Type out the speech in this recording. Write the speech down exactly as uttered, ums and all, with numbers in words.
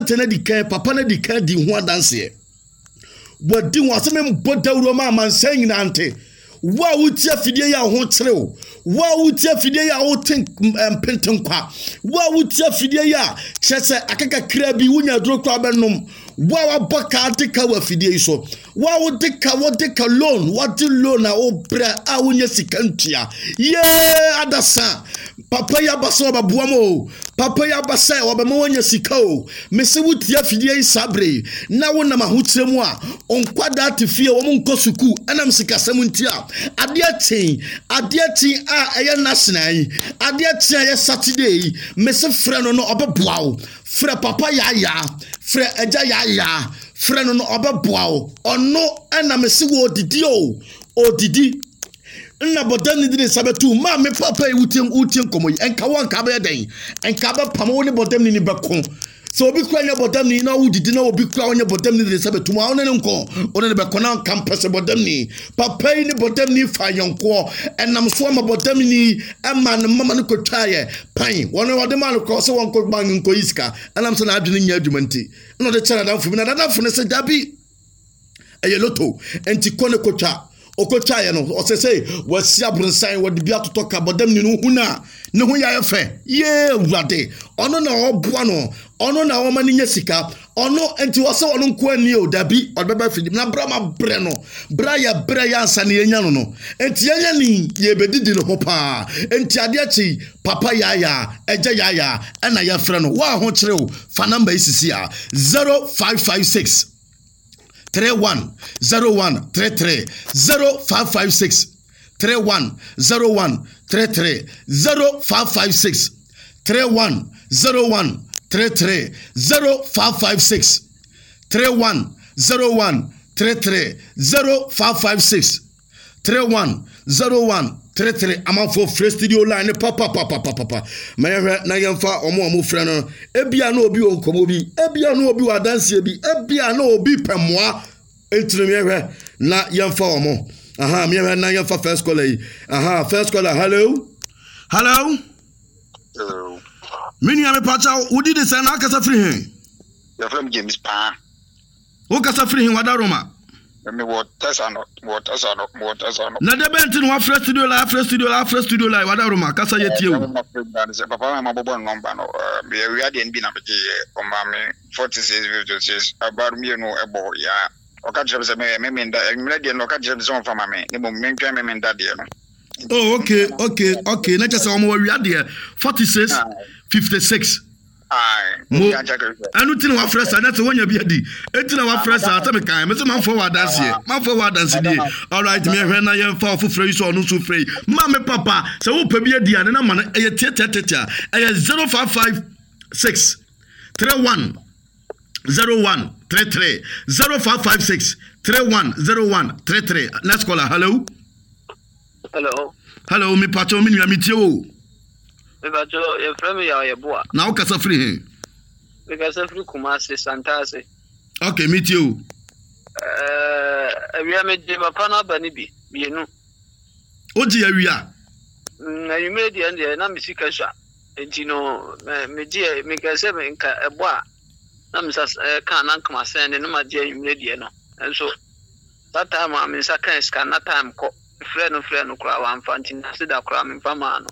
Aberante no adi kan, papa no adi kan di ho adanseɛ. Wadi ho asɛm mbɔ dawuro ma amansan nyinaa nte. Wo a wotie afidie yi a wo ho kyere wo, wo a wotie afidie yi a wote mpentenkwa, wo a wotie afidie yi a kyerɛ sɛ aka kakra bi wonya aduro koraa bɛnom, wo a wabɔ ka ade ka wɔ afidie yi so, wo a wode ka wode ka loan, wode loan a wobrɛ a wonya sika ntua. Yee adasa, papa yi aba sɛ ɔbɛboa mo o, papa yi aba sɛ ɔbɛma woanya sika o. Mese wotie afidie yi saa bere yi na wonam ahokyerɛ mu a, nkwadaa te fie wɔn nkɔ sukuu ɛnam sikasɛm nti a, adeɛ kyen adeɛ kyen a ɛyɛ national yi, adeɛ kyen a ɛyɛ Saturday yi, mese frɛ no no ɔbɛboa wo. Frɛ papa yaayaa, frɛ agya yaayaa, frɛ no no ɔbɛboa wo. Ɔno ɛna mese wɔ odidi o, odidi. Nna bɔdam ne de ne nsa bɛto maame papa yi wotie wotie nkɔmmɔ yi, ɛnka wo anka bɛyɛ dɛn? Ɛnka bɛpam wo ne bɔdam ne ni bɛko. Sɛ obi kura nyɛ bɔdam ni na wodidi na obi kura ɔnyɛ bɔdam ni de ne nsa bɛto mu a, ɔne ne nkɔ, ɔne ne bɛkɔ na nka mpɛ sɛ bɔdam ni. Papa yi ne bɔdam ni fa yɔnkoɔ, ɛnam so ama bɔdam ni ɛma ne mama no kɔtwaeɛ pan. Wɔn wɔde maa no korɔ sɛ wɔnkɔ bank nkɔyi sika, ɛnam sɛ n'adwene nyɛ adwuma nti. Ɛna ɔde kyerɛ n'adamfo bi, na n'adamfo no sɛ dabi, ɛyɛ loto, nti kɔ ne kɔtwa. Ɔkɔtwaeɛ no, ɔsɛ sɛ wasi abronsan, wɔde bi atotɔ ka bɔdam ni no hu no a, ne ho yɛ fɛ. Yee Awurade, ɔno na ɔboa no, ɔno na ɔma no nya sika, ɔno nti ɔsɛ ɔno nko ani o, dabi, ɔde bɛba afidie na bra ma brɛ no, bra yɛ brɛ yɛ ansa na yɛnya no no, nti yɛnya ni yɛbɛdidi ne ho paa. Nti adeɛ kye papa yaayaa, ɛgya yaayaa, ɛna yɛfrɛ no. Wo a ho kyerɛ wo, fa namba yi sisi a, zero five five six three one zero one three three, zero five five six three one zero one three three, zero five five six three one zero one three three, zero five five six three one zero one three three, zero five five six three one zero one three three. Amanfo frɛ studio line ne papa papa papa papa. Ma yɛhwɛ na yɛmfa ɔmo a ɔmo frɛ no. Ebia na obi wɔ nkɔmɔ bi, ebia na obi wɔ adanseɛ bi, ebia na obi pɛ mmoa. Ntiri yɛhwɛ na yɛmfa ɔmo. Aha, yɛhwɛ na yɛmfa first caller yi. Aha, first caller, hello. Hello. Hello. Me nua mepakyɛw, wodi de sɛn na akasa firi he? Yɛfrɛ me James Paa. Wokasa firi he wada Roma? Mewɔ Tɛsa no, mewɔ Tɛsa no, mewɔ Tɛsa no. Na de bɛn nti na wafrɛ studio line, afrɛ studio line, afrɛ studio line, wada Roma, kasa yɛ tie o. Sɛ papa ma mabɔbɔ ne nɔmba no, meyɛ awia deɛ no bi na megyeeɛ, ɔma me forty six fifty six, abar mmienu ɛbɔ ya. Ɔka kyerɛ me sɛ meyɛ me menda, anwummerɛ deɛ no ɔka kyerɛ me sɛ ɔmfa ma me, ne mmom mentwɛn me menda deɛ no. Oh, okay, okay, okay. Na kyerɛ sɛ ɔmo awia deɛ forty six fifty six. Mo ɛno ti na wafrɛ saa, na sɛ wonya bi adi eti na wafrɛ saa sɛ mekan mese manfoɔ wɔ adanseɛ, manfoɔ wɔ adansedie. Alright, mehwɛ na yɛmfa ɔfoforɔ yi sɛ ɔno nso frɛ yi. Ma me papa sɛ wopɛ bi adi a ne nama no ɛyɛ tiatiatiatia, ɛyɛ zero five five six three one zero one three three, zero five five six three one zero one three three. Next caller, hello. Hello. Hello, mi pacho mi nua mi tie o. Mi pacho yɛfrɛ me Yaw Yeboah. Na wo kasa firi he? Mi kasa firi Kumasi, Santase. Okay, mi tie o. Ɛɛ awia mi gye papa no aba ne bi mmienu. O gye awia? Mm, anwummerɛ deɛ deɛ na me sika sua. Nti no me gye me nka sɛ me nka ɛbɔ a na me nsa ka na nka ma sɛn ne na ma gye anwummerɛ deɛ no. Nso that time a me nsa ka sika na time kɔ. Frɛ no frɛ no koraa wamfa, nti na se da koraa memfa maa no.